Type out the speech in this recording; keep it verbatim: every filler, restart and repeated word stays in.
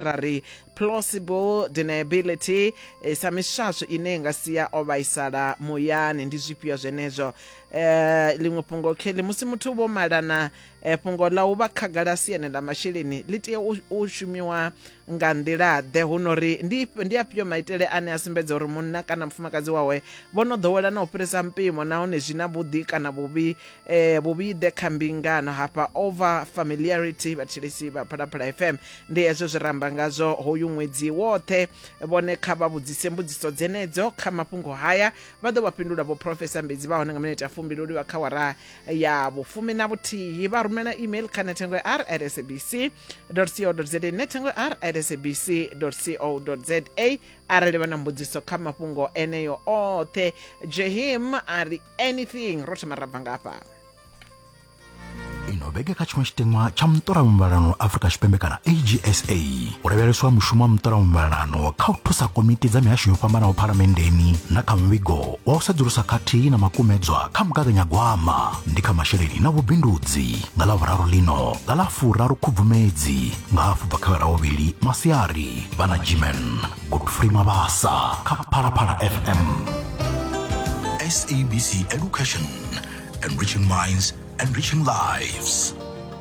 Ra ri plausible deniability eh, sa miswaswo ine i nga sia o vhaisala muyani, ndi zwifhio zwenezwo? eh Ḽiṅwe fhungo kheḽi, musi muthu vho malana, eh, fhungo ḽa u vha khagala siani ḽa masheleni ḽi tea u, u shumiwa nga nḓila ḓe? Huno ri ndi ndi afhio maitele ane a sumbedza uri munna kana mufumakadzi wawe vho no ḓowela na u fhirisa mpimo, nahone zwi na vhuḓi kana vhuvhi eh, vhuvhi ḓe kha mbingano? Hafha over familiarity, vhathetshelesi vha Phalaphala F M, ndi hezwo zwi ramba ngazwo hoyu ṅwedzi woṱhe. Vhone kha vha vhudzise mbudziso dzenedzo kha mafhungo haya, vha ḓo vha fhindula vho Professor Mbedzi vha hone nga minete ya fumbili u livha kha wara ya vhufumi na vhuthihi. Vha rumela email kha nethengo r at sabc co za, nethengo r at sabc co za, arali vha na mbudziso kha mafhungo eneyo oṱhe. Jehim a ri anything, ro thoma ra bva ngafha. Ino vhege kha tshiṅwe tshiteṅwa tsha muṱolamuvhalelano Afrika Tshipembe kana A G S A, u lavheleswa mushumo wa muṱolamuvhalelano kha u thusa komiti dza mihasho yo fhambanaho phalamenndeni na kha muvhigo wa u sedzulusa khathihi na makumedzwa kha mugaganyagwama ndi kha masheleni na vhubindudzi, nga ḽa vhuraru lino nga ḽa furaru Khubvumedzi nga hafu bva kha vhuvhili masiari, vha na Gman Godfrey Mabasa kha Phalaphala F M. S A B C Education, enriching minds, enriching lives.